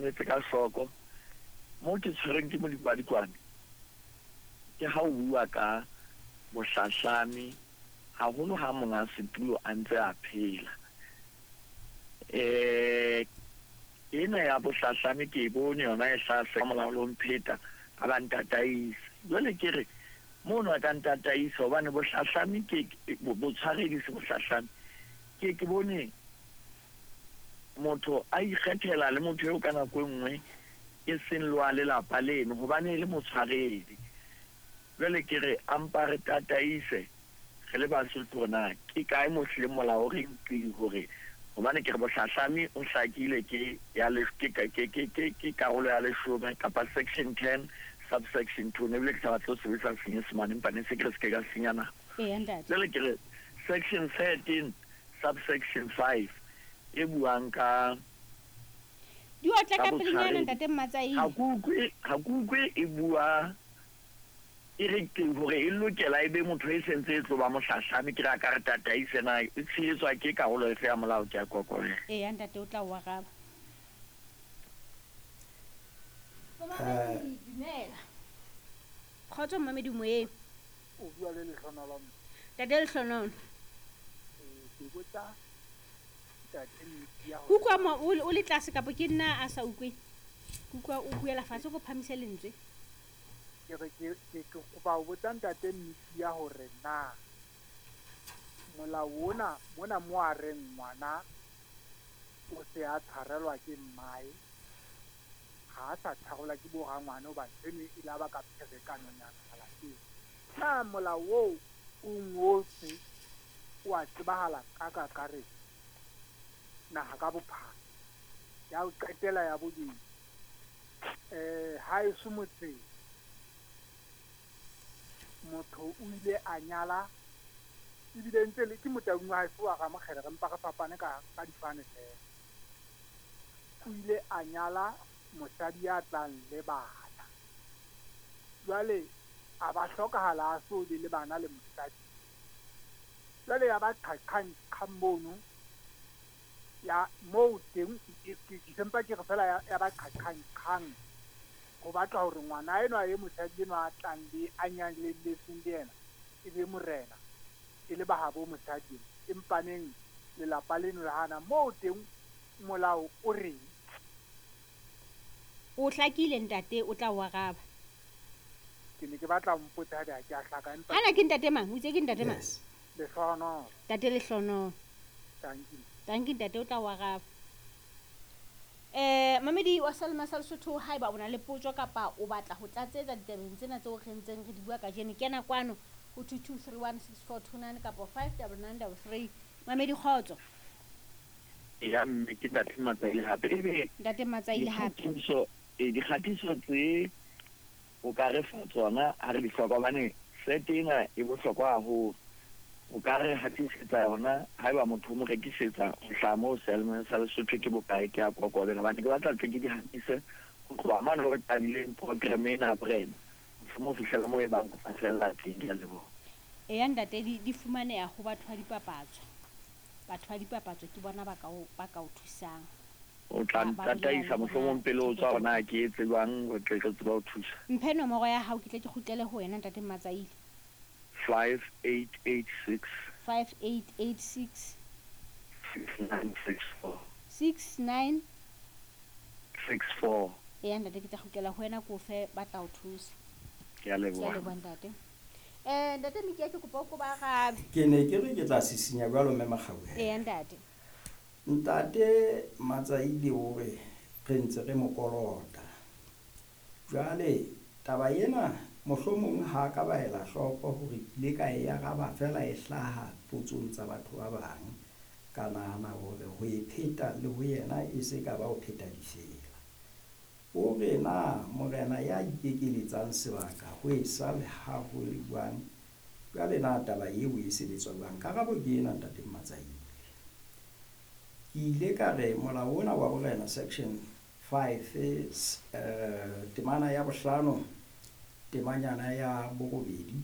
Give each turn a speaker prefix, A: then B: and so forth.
A: Mametse ka hloko. Mo ke tshwereng ke modikwadikwane ke ha o bua ka bohlahlami haholo ha monga setulo a ntse a phela. Ena ya bohlahlami ke e bone yona e hlaha molao le ho mpheta a ba ntataise. Jwale ke re mono a ka ntataisa hobane bohlahlami ke botshwaredi se bohlahlami. Ke bone motho a ikgethela le motho eo ka nako e nngwe e seng le wa lelapa leno hobane e le motshwaredi. Jwale ke re a mpa re tataise re le Basotho hore na ke kae mo hlileng molao o reng qi hore hobane ke re bohlahlami o hlakile ke ya le ke ke ke ke ke karolo ya leshome kapa section 10 subsection 2. Ne ebile ke sa batle ho sebedisa Senyesemane, empa ne se ke re se ke ka senya nako.
B: Eya ntate.
A: Jwale ke re section 13 subsection 5 e buang ka
B: Di otla
A: ka
B: ka pelenyana
A: botshwaredi.
B: Ntate Mmatsaile.
A: Ha ke utlwe e bua e re ke hore e lokela e be motho e sentse e tlo ba mohlahlami. Ke re a ka re tataise na e tshehetswa ke karolo efe ya molao? Ke a kokobela.
B: Eya ntate, o tla o araba. Momamedi, dumela. Kgotso momamedi moyeng.
C: O bua le Lehlohonolo.
B: Ntate Lehlohonolo.
C: Ke botsa ntate Media
B: Ke utlwa mo o le tlase kapa ke nna a sa utlwe? Ke utlwa o buela fatshe, ko phamise lentswe.
C: Ke re ke kopa ho botsa ntate Media hore na molao ona mona mo a reng ngwana o se a tshwarelwa ke mmae, ha a sa tshwarelwa ke bo rangwane hobane eno e la ba ka pherekanonyana malapeng. Na molao oo o ngotswe o a tsebahala ka kakaretso naha ka bophara? Ya ho qetela ya bobedi, haeso motseng motho o ile a nyala ebile ntse le ke motaung wa haeso wa Ramokgele, re mpa re fapane ka difane feela. O ile a nyala mosadi ya tlang le bana, jwale a ba hlokahala a so be le bana le mosadi. Jwale ya ba qhaqhang qhang mono ya moo teng, ke sempa ke re fela ya ba qhaqhang qhang ho batla hore ngwana enwa e mosadi enwa a tlang le a nyalelletseng le yena e be morena, e le bahabo mosadi enwa. Empaneng lelapa leno le hana. Moo teng molao o reng?
B: O hlakile ntate, o tla o araba.
C: Ke ne ke batla ho mpotsa haebe ha ke a hlaka, empa
B: Hana ke ntate mang? O itse ke ntate mang?
D: Yes.
C: Lehlohonolo.
B: Ntate Lehlohonolo.
C: Tanki.
B: Tanki ntate, o tla o araba. Mamedi wa Salema sa Lesotho, haeba o na le potso kapa o batla ho tlatsetsa ditabeng tsena tseo re ntseng re di bua kajeno, kena kwano ho 22316429 kapa 59933. Mamedi, kgotso.
A: Ya mme ke ntate Matsaile hape. Ebe
B: Ntate Matsaile hape.
A: Dikgatiso tse o ka re fa tsona ha re di hloka, hobane set ena e bohlokwa haholo. O ka re hatisetsa yona haeba motho o mo rekisetsa ho hlaha moo Selma sa Lesotho ke bokae? Ke a kokobela hobane ke batla tle ke di hatise ho tloha mane re qadileng program ena ya borena mohlomong ho fihlela moo e bang ho tla fella teng. Ke a leboha.
B: Eya ntate, di fumaneha ho batho ba dipapatso. Batho ba dipapatso ke bona ba ka o thusang.
A: O tla
B: Ba bolela
A: ntataisa
B: le
A: mohlomong
B: bona
A: pele o tswa
B: theko
A: hore na ke etse jwang re tle re tsebe ho thusa.
B: Mphe nomoro ya hao ke tle ke kgutlele ho wena ntate Matsaile.
A: 5886.
B: 5886.
A: 6964.
B: 69
A: 64.
B: Eya ntate, ke tla kgutlela ho wena ko fe ba tla o thusa.
A: Ke a leboha.
B: Ke a leboha ntate. Ntate Mikia, ke kopa o ko ba arabe.
D: Ke ne ke re ke tla sisinya jwalo mme Makgauhelo.
B: Eya ntate.
D: Ntate Matsaile o re re ntse re mo kolota. Jwale taba ena mohlomong ha ka ba ela hloko hore ke ile ka e araba fela e hlaha potsong tsa batho ba bang. Ka nahana hore ho e pheta le ho yena e se ka ba ho pheta difela. O re na morena ya ikekeletsang sebaka ho e sa le ha ho le jwang, jwale na taba eo e sebetswa jwang? Karabo ke ena ntate Matsaile. Ke ile ka re molao ona wa borena section 5, temana ya bohlano, temanyana ya borobedi,